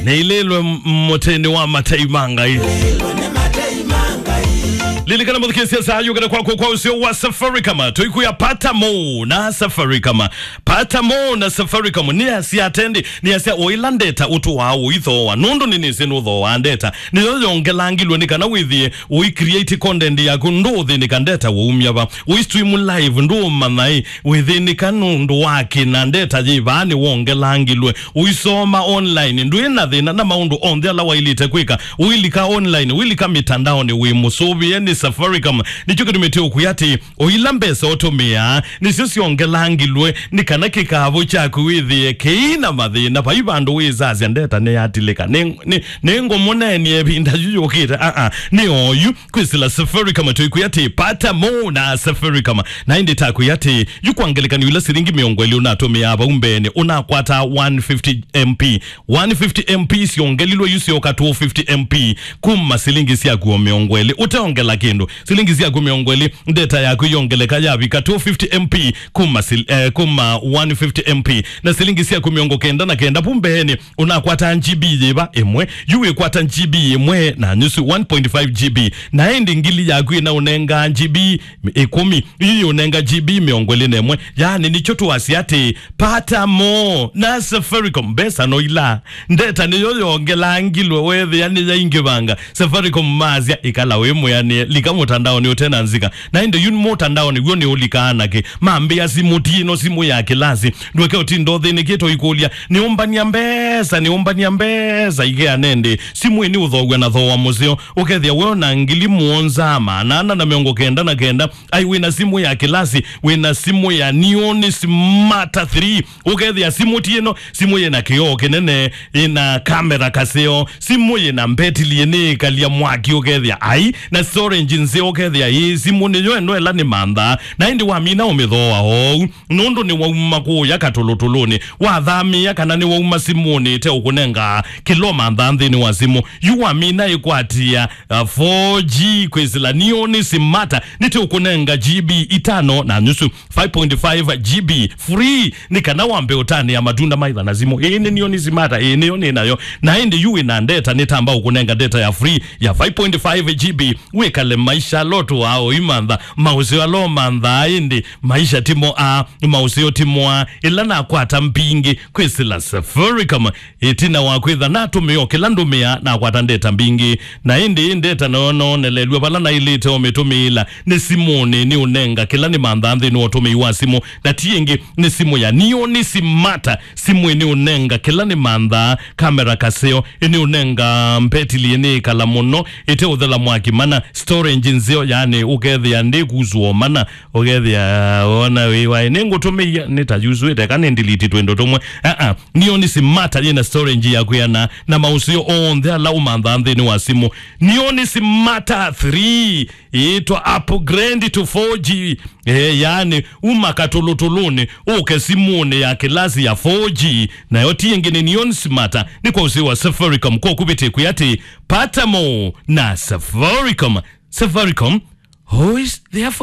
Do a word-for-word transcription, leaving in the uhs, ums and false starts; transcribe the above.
Nĩilĩlwe m-, mũtĩnĩ wa matei ma Ngai. Lilikana mũthikĩĩsya saa yũkĩte kwaku kwa ũseo wa Safaricom. Tũikwĩa pata mo na Safaricom. Pata mo na Safaricom. Nĩasya atendi, nĩasya o ĩla ndeta ũtũaa ũithooa. Nũndũ nĩnĩsĩ nũthooaa ndeta. Nĩyo yongelangilwe nĩ kana wĩthĩe ũi create content yaku ndũũthĩnĩka ndeta waumya va. Ũi stream live ndũũmanya ĩ, wĩthĩnĩka nũndũ wa kĩna ndeta yĩ vaa nĩwongelangilwe. Ũisoma online, ndwĩ na thĩna na maũndũ onthe ala waĩlĩte kwĩka. Ũilika online, ũilika mĩtandaonĩ wĩ mũsũvĩe nĩ Safaricom. Nĩkyo kĩtumĩte ũkwĩa atĩ, o ila mbesa ũtũmĩaa, nĩsyo syongelangilwe, nĩ kana kĩkavũ kyaku wĩthĩe kĩi na mathĩna. Vai vandũ wĩsasya ndeta nĩyatilĩka. Nĩ, nĩ, nĩngũmũneenie ĩvinda yu yũkĩte. Aa, nĩ oyu. Kwĩsĩla Safaricom tũikwĩa atĩ, pata mo na Safaricom. Na ĩndĩ takwĩa atĩ, yu kwa ngelekany'o ila silingi mĩongo ĩlĩ ũnatũmĩaa vau mbeenĩ, ũnakwata one fifty M P. One fifty M P syongelilwe yu syoka two fifty M P kuma silingi syaku o mĩongo ĩlĩ. Ũteongela kĩndũ. Silingi syaku mĩongo ĩlĩ, ndeta yaku yongeleka yavika two fifty M P kuma sil-, eh, kuma one fifty M P. Na silingi syaku mĩongo kenda na kenda vu mbeenĩ, ũnakwata G B yĩva? Ĩmwe. Yu wĩkwata G B ĩmwe na nyusu, one point five G B. Na ĩndĩ ngili yaku ĩnaũnenga G B ĩkũmi. Yu yĩũnenga G B mĩongo ĩlĩ na ĩmwe. Yaani nĩkyo tũasya atĩ, pata mo na Safaricom. Mbesa no ila. Ndeta nĩyo yongelangilwe wethĩa nĩyaingĩvanga. Safaricom masya, ĩkala wĩ mwĩanĩe, lika mũtandaonĩ ũte na nzika. Na ĩndĩ yu mũtandaonĩ w'o nĩũlikaa nakĩ? Mambĩa simũ ti ĩno simũ ya kĩlasi. Ndweke ũtinda ũthĩnĩkĩte ũikũlya, nĩũmbania mbesa, nĩũmbania mbesa, ikeana ĩndĩ. Simũ ĩĩ nĩũthoow'a na thooa mũseo. Ũkethĩa we na ngili mũonza, maana ana na mĩongo kenda na kenda. Ai, wĩna simũ ya kĩlasi, wĩna simũ ya Neon Smarter three. Ũkethĩa simũ ti ĩno, simũ yĩna kĩoo kĩnene, ĩna kamera kaseo, simũ yĩna mbetili ĩnĩĩkalya mwaki ũkethĩa, ai, na storage nzeo ũkethĩa, ĩĩ, simũ nĩyo ĩno ĩla nĩ mantha. Na ĩndĩ wamina ũmĩthooa oou, nũndũ nĩwauma kũũya katũlũtũlũnĩ, wathamĩĩa kana nĩwauma simũnĩ ĩteũkũnenga kĩla ũmanthaa nthĩnĩ wa simũ. Yu wamina ĩkwatĩa, uh, four G kwĩsĩla Neon Smarter, nĩteũkũnenga G B itano na nyusu, five point five G B free, nĩ kana wambe ũtanĩa matunda maitha na simũ. Ĩĩ nĩ Neon Smarter, ĩĩ nĩyo nĩ nayo. Na ĩndĩ yu wĩna ndeta, nĩtamba ũkũnenga ndeta ya free ya five point five G B, wĩkale maisha ala ũtũaa ũimantha, maũseo ala ũmanthaa, ĩndĩ maisha ti mo a, maũseo ti mo a. Ĩla nakwata mbingĩ kwĩsĩla Safaricom, ĩtina wa kwĩtha natũmĩa o kĩla ndũmĩaa, nakwata ndeta mbingĩ. Na ĩndĩ ĩ ndeta nayo noonelelw'a vala naĩlĩte ũmĩtũmĩĩla nĩ simũnĩ, nĩũnenga kĩla nĩmanthaa nthĩnĩ wa ũtũmĩi wa simũ. Na ti ĩngĩ, nĩ simũ ya Neon Smarter. Simũ ĩĩ nĩũnenga kĩla nĩmanthaa, kamera kaseo, ĩnĩũnenga mbetili ĩnĩĩkala mũno, ĩteũthela mwaki mana, storage nzeo, yaani ũkethĩa ndĩkusũa mana, ũkethĩa wona wĩ waĩ, nĩngũtũmĩie, nĩtayusũĩte, kana nĩ delete twĩndo tũmwe. Aa, Neon Smarter yĩna storage ya kwĩana, na maũseo onthe ala ũmanthaa nthĩnĩ wa simũ. Neon Smarter three, ĩtwa upgrade to four G. Eh, yaani, uma katũlũtũlũnĩ, ũke simũnĩ ya kĩlasi ya four G, nayo ti ĩngĩ nĩ Neon Smarter, nĩ kwa ũseo wa Safaricom, kwa kũvĩtĩkwĩa atĩ, pata mo na Safaricom. Safaricom, always there for